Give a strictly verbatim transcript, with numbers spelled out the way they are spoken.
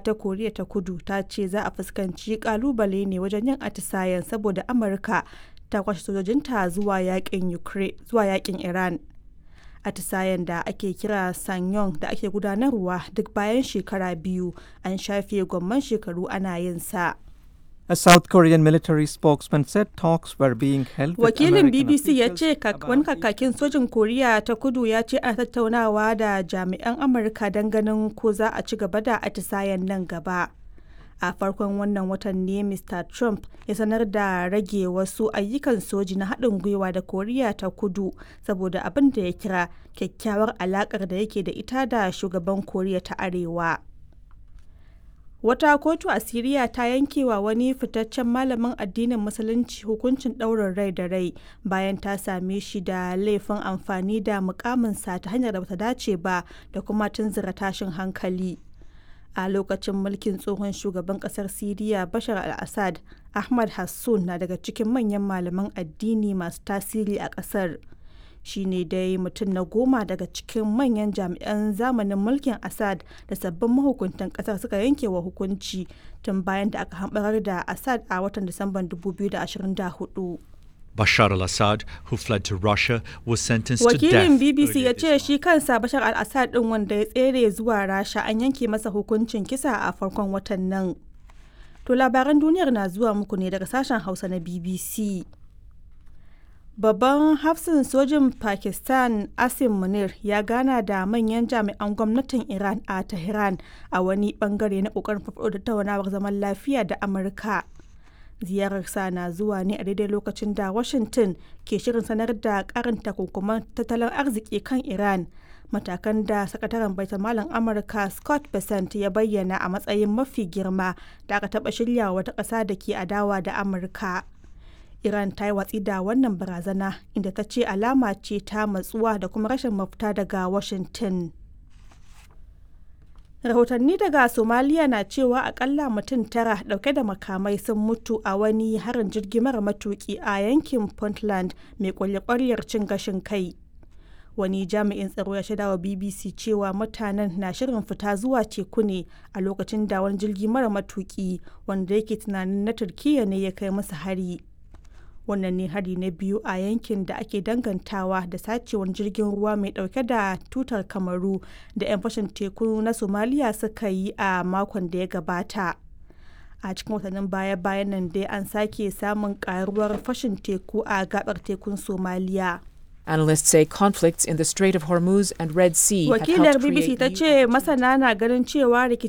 ta Koriya ta Kudu ta ce za a fuskanci kalubale ne wajen yin atisayen saboda Amurka ta kwashe sojojinta zuwa yakin zuwa yakin Iran. Atisayen da ake kira Sanyong da ake gudanarwa duk bayan shekara biyu an shafe gwamman shekaru ana yin sa. A South Korean military spokesman said talks were being held with Wakilin American B B C ya officials ce about wani kakakin sojin Koriya ta Kudu ya ce ana tattaunawa da jami'an Amurka don ganin ko za a ci gaba da atisayen nan gaba. A farkon wannan watan ne Mister Trump ya sanar da rage wasu ayyukan soji na haɗin gwiwa da Koriya ta Kudu saboda abin da ya kira kyakkyawar alaƙar da yake da ita da shugaban Koriya ta Arewa. Wata kotu a Siriya ta yankewa wani fitaccen malamin addinin Musulunci hukuncin ɗaurin rai da rai bayan ta same shi da laifin amfani da mukaminsa ta hanyar da bata dace ba da kuma tunzura tashin hankali. A lokacin mulkin tsohon shugaban kasar Siriya Bashar al-Assad, Ahmad Hassun na daga cikin manyan malaman addini masu tasiri a kasar. Shi ne dai mutum na goma daga cikin manyan jami'an zamanin mulkin Assad da sabbin mahukuntan kasar suka yanke wa hukunci tun bayan da aka hambarar da Assad a watan Disamban dubu biyu da ashirin da hudu. Bashar al Assad, who fled to Russia, was sentenced to Wakilin death B B C earlier ya this ce month. shi kansa Bashar al-Assad din wanda ya tsere zuwa Rasha an yanke masa hukuncin kisa a farkon watan nan. To, labaran duniyar na zuwa muku ne daga sashen Hausa na B B C. Babban hafsin sojin Pakistan Asim Munir ya gana da manyan jami'an gwamnatin Iran a Tehran a wani bangare na kokarin farfaɗo da tattaunawar zaman lafiya da Amurka. Ziyararsa na zuwa ne a daidai lokacin da Washington ke shirin sanar da karin takunkuman tattalin arziki kan Iran, matakan da sakataren baitamalan Amurka Scott Bessent ya bayyana a matsayin mafi girma da aka taɓa shirya wata ƙasa da ke adawa da Amurka. Iran ta yi watsi da wannan barazana, inda ta ce alama ce ta matsuwa da kuma rashin mafita daga Washington. Rahotanni daga Somaliya na cewa akalla mutum tara dauke da makamai sun mutu a wani harin jirgi mara matuki a yankin Puntland mai kwalye-kwaryar cin gashin kai. Wani jami'in tsaro ya shaidawa B B C cewa mutanen na shirin fita zuwa teku ne a lokacin da wani jirgi mara matuki wanda yake tunanin na Turkiyya ne ya kai musu hari. Wannan ne hari na biyu a yankin da ake dangantawa da sacewar jirgin ruwa mai dauke da tutar Kamaru da 'yan fashin teku na Somaliya suka yi a makon da ya gabata. A cikin watannin baya-bayan nan dai an sake samun karuwar fashin teku a gabar tekun Somaliya. Analysts say conflicts in the Strait of Hormuz and Red Sea have Wakilar helped B B C create ta new ce masana na ganin cewa rikicin